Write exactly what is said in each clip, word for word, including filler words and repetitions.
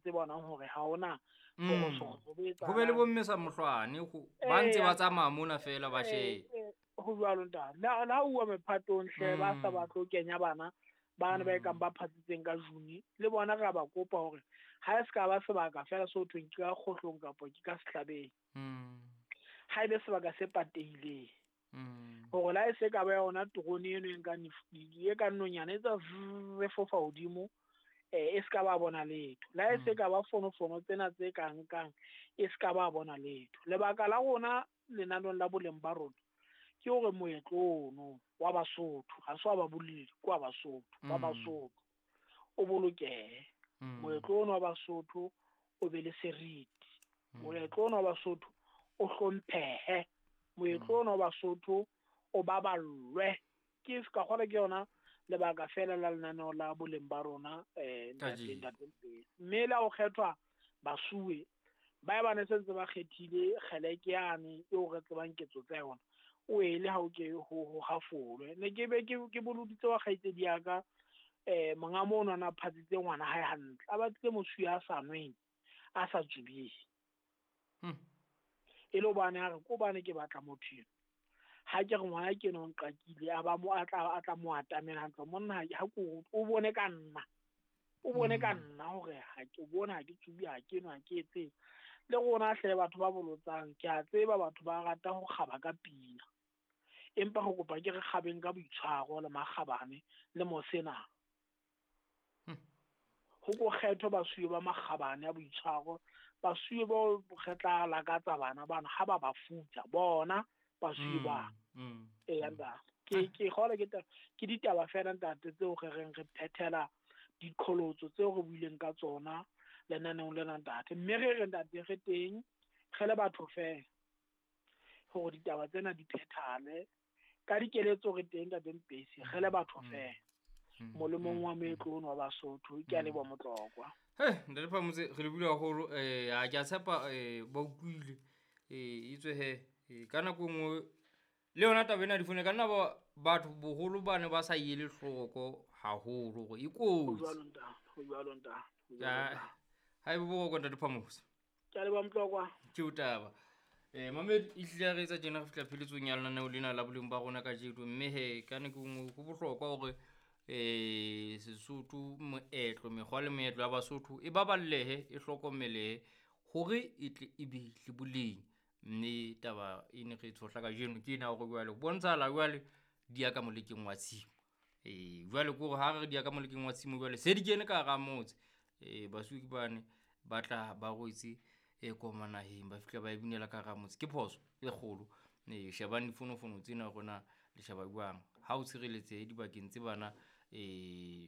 tse bonang hore ha hona Mm. Ho be le bomme sa mohlwane ba ntse ba tsamaya mona feela ba shebe. Ho jwalo ntate. Le ha uwa mephatong hle ba sa batle ho kenya bana bana ba ekang ba phatsitseng ka June le bona re a ba kopa hore ha e se ka ba sebaka feela se ho thweng ke ka kgohlong kapa ke ka sehlabeng. Ha ebe sebaka se patehileng. Hore la e se ka ba yona terone eno e nkang e ka nonyana e tsa e fofa hodimo eh e se ka ba bona letho. La e se ka ba fonofono tsena tse ka nkang e se ka ba bona letho. Lebaka la rona lenanong la boleng ba rona ke hore moetlo ono wa Basotho ha se wa baboleli ke wa Basotho wa Basotho o bolokehe. Moetlo ono wa Basotho o be le seriti. Moetlo ono wa Basotho o hlomphehe. Moetlo ono wa Basotho o baballwe. Ke ka kgona ke yona lebaka fela la lenaneo la boleng ba rona eh ntate ntate. Mme la ho kgethwa basuwe ba ba ne sentse ba kgethile kgeleke yane eo re tsebang ketso tsa yona o ele ha o ke ho ho hafolwe. Ne ke be ke ke boloditse wa kgaitsedi ya ka eh monga mono ana phatsitse ngwana hae hantle a batlile mosuwe a sa nweng a sa tsubeng. E le hobane a re ko bane ke batla motho eno. Ha ke re ngwana ke no nqakile a ba mo a tla a tla mo atamela hantle monna ha ko o bone ka nna o bone ka nna hore ha ke bona ha ke tsubi ha ke nwa ha ke etse. Le rona hle batho ba bolotsang ke a tseba batho ba rata ho kgaba ka pina empa go kopa ke re kgabeng ka boitshwaro le makgabane le mosena. Ho ko kgetho basuwe ba makgabane a boitshwaro basuwe bo re tla lakatsa bana bana ha ba ba futsa bona basuwe ba e anda ke ke gole ke ke ditaba fela ntate tseo re reng re phethela diqholotso tseo re buileng ka tsona lenaneong lena ntate. Mme re re ntate re teng re le batho fela hore ditaba tsena di phethale ka dikeletso re teng ntate Mpesi re le batho fela molemong wa moetlo ono wa Basotho. Ke a leboha Motlokwa. He ntate Phamotse re le buile haholo eh ha ke a tshepa eh ba utlwile eh itswe he ka nako nngwe le yona taba ena difoune ka nna ba batho boholo ba ne ba sa ele hloko haholo hore e kotsi. Ho jwalo ntate, ho jwalo ntate. Ha e bo ntate Phamotse. Ke a leboha Motlokwa. Ke o taba. Eh mamedi e hlile re etsa tjena re fihla pheletsong ya lenaneo lena la boleng ba rona kajeno mme he ka nako nngwe ho bohlokwa hore eh Sesotho moetlo mekgwa le meetlo ya Basotho e baballehe e hlokomelehe hore e tle e be le boleng. Mme taba e ne re tshohla kajeno ke ena hore jwale ho bontshahala jwale di ya ka molekeng wa tshimo. Eh jwale ke hore ha re di ya ka molekeng wa tshimo jwale se di kene ka hara motse. Eh basuwe ke bane ba tla ba rwetse e koma naheng ba fihla ba e binela ka hara motse. Ke phoso e kgolo. Eh shebang difonofono tsena rona le sheba jwang ha o tshireletsehe dibakeng tse bana eh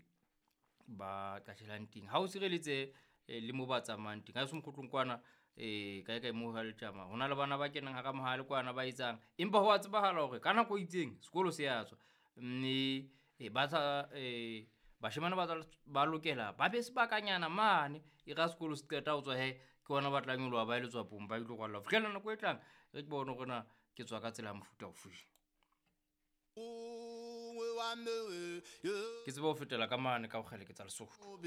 ba qashelang teng ha o tshireletsehe le mo ba tsamayang teng ha se mokgotlong kwana eh kae kae mo ha le tjama hona le bana ba kenang hara mohale kwana ba etsang empa ho a tsebahala hore ka nako e itseng sekolo se ya tswa mme ba tsa eh bashemane ba ba lokela ba be sebakanyana mane e ra sekolo se qeta ho tswa he ke bona ba tla nyoloha ba ile tswapong ba ile kwalla fihlela nako e tlang re ke bone hore na ke tswa ka tsela ya mofuta ofe. Ke tseba ho fetela ka mane ka ho kgele ke tsa Lesotho.